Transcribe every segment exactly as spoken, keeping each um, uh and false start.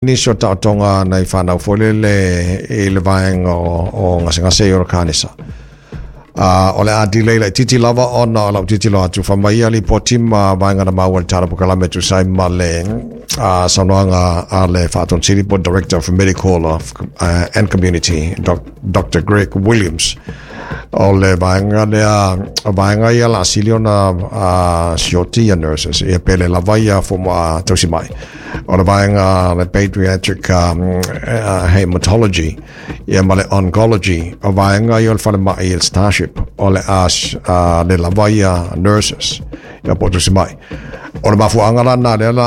Nisi o taotoga nai fanau foi lele i le vaega o, o gasegase i o le kanesa. Uh, o le a delay laitiiti lava ona o lau tilotilo atu fai mai ia lipoti ma vaega na maua i le tala polokalame e tusa ai ma le uh, saunoaga a le Faatonu Sili po Director of Medical of, uh, and Community Doc, Doctor Greg Williams. O le vaega lea, o vaega ia la sili ona uh, sioti ia nurses ia pele lava ia fomai tausi mai. O le vaega le pediatric um, uh, hematology ia ma le oncology, o vaega ia o le falemai il Starship, o le a uh, le lava ia nurses ia po tausi mai. O le mafuaaga la na lea la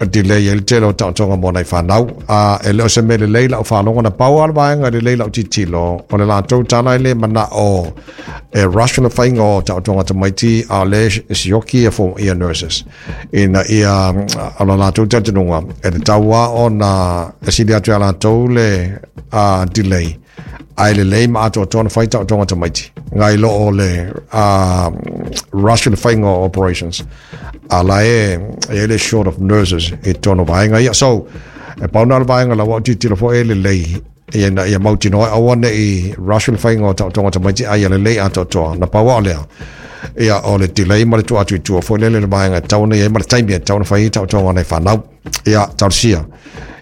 a delay ai le tele o taotoga mo nai fanau. A e le o se mea lelei lau faalogo na pau a le vaega lelei lau tilotilo o le latou tala e le manao e rush le faiga o taotoga tamaiti a o le sioki ia fo ia nurses ina ia o le latou talitonuga e tatau lava ona e sili atu ia latou le uh, delay ae lelei ma atoatoa na fai taotoga tamaiti nai lo o le uh, rush le faiga o operations a la e e le short of nurses i tonu vaega ia. So e pau na le vaega la ua tilotilo foi e lelei ia na ia mautinoa aua nei rush le faiga o taotoga tamaiti ai ia lelei atoatoa na pau o lea ia o le delay ma le tuu atu i tua foi lele le vaega e tatau ona i ai ma le taimi e tatau ona fai ai taotoga nai fanau ia talosia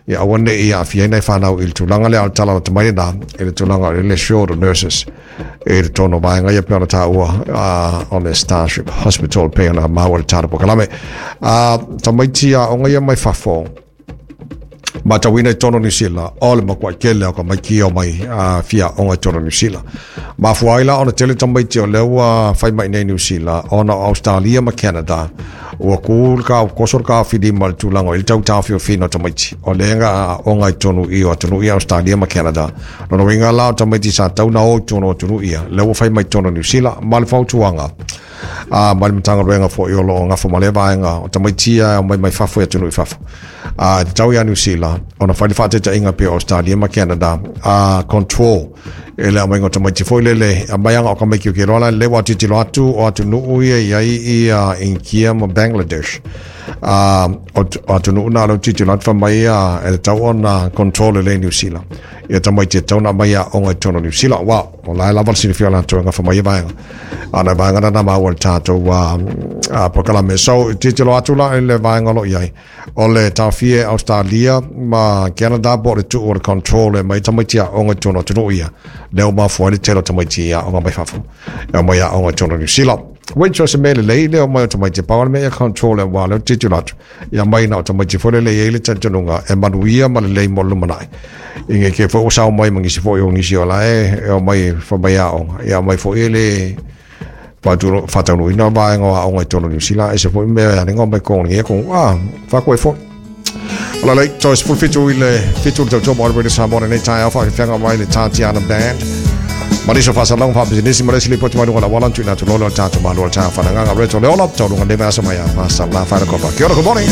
ia aua nei aafia ai nai fanau i le tulaga lea o le tala lata mai lena i le tulaga o le short of nurses i le tonu o vaega ia pei ona taua uh, o le Starship Hospital pei ona maua le tala polokalame. Uh, tamaiti aoga ia mai fafo matauina i totonu o Niu Sila o le matuai tele o tamaiti o mai uh, fia aoga i totonu o Niu Sila. Mafua ai la ona tele tamaiti o lea ua fai mai nei Niu Sila ona o Australia ma Canada ua ku le ka koso le taofilima i le tulaga o i le tau taofiofiina o tamaiti o lea na aoga i totonu i o atunuu ia Australia ma Canada. Lona uiga la o tamaiti sa tau na o i totonu o atunuu ia lea ua fai mai i totonu o Niu Sila ma le fautuaga a ma le Matagaluega foi o lo o gafa ma lea vaega o tamaiti ia e aumai mai fafo i atunuu i fafo. A e tatau ia Niu Sila ona fai le faataitaiga pei o Australia ma Canada a control e le aumaiga o tamaiti foi lele aumai aga o tamaiti o ke loa la le ua tilotilo atu o atunuu ia i ai ia India ma Bangladesh a o atunuu na lea tilotilo atu fai mai ia e tatau ona control lelei Niu Sila ia tamaiti e tatau ona aumai aoga i totonu o Niu Sila wa o la e lava le silafia o latou e gafa mai ia vaega a na vaega na na maua i le tatou uh, polokalame. So tilotilo atu la i le vaega o lo o i ai o le taofia e Australia ma Canada po o le tuu o le control e mai tamaiti aoga i totonu o atunuu ia lea ua mafua ai le tele o tamaiti aoga mai fafo e aumai aoga i totonu o Niu Sila. Which o se mea lelei lea omai o tamaiti pau le mea ia control e wā leo tilotilo atu ia mai na o tamaiti foi lele i ai le talitonuga e manuia ma lelei mo le lumanai. I nge ke foi ua sao mai ma nisi foi o nisi o la e e omai fai mai aoga ia aumai foi e le faataunuuina vaega o aoga i totonu o Niu Sila e se foi mea e alega mai kong nge kong ah fa koe foi. Ola lei, toe sefulu fitu i le fitu le tautua mo Radio Samoa lenei taeao faafeafeaga mai le Tatiana Band. Ma nisi o faasalaga faapisinisi ma le isi lipoti mai luga o le auala na tuuina atu loa lea o le tatou malo o le taeao faaleagaga Reto Leola, taualuga nei vaiaso mai a Pastor La Wharekopa. Kia ora, good morning.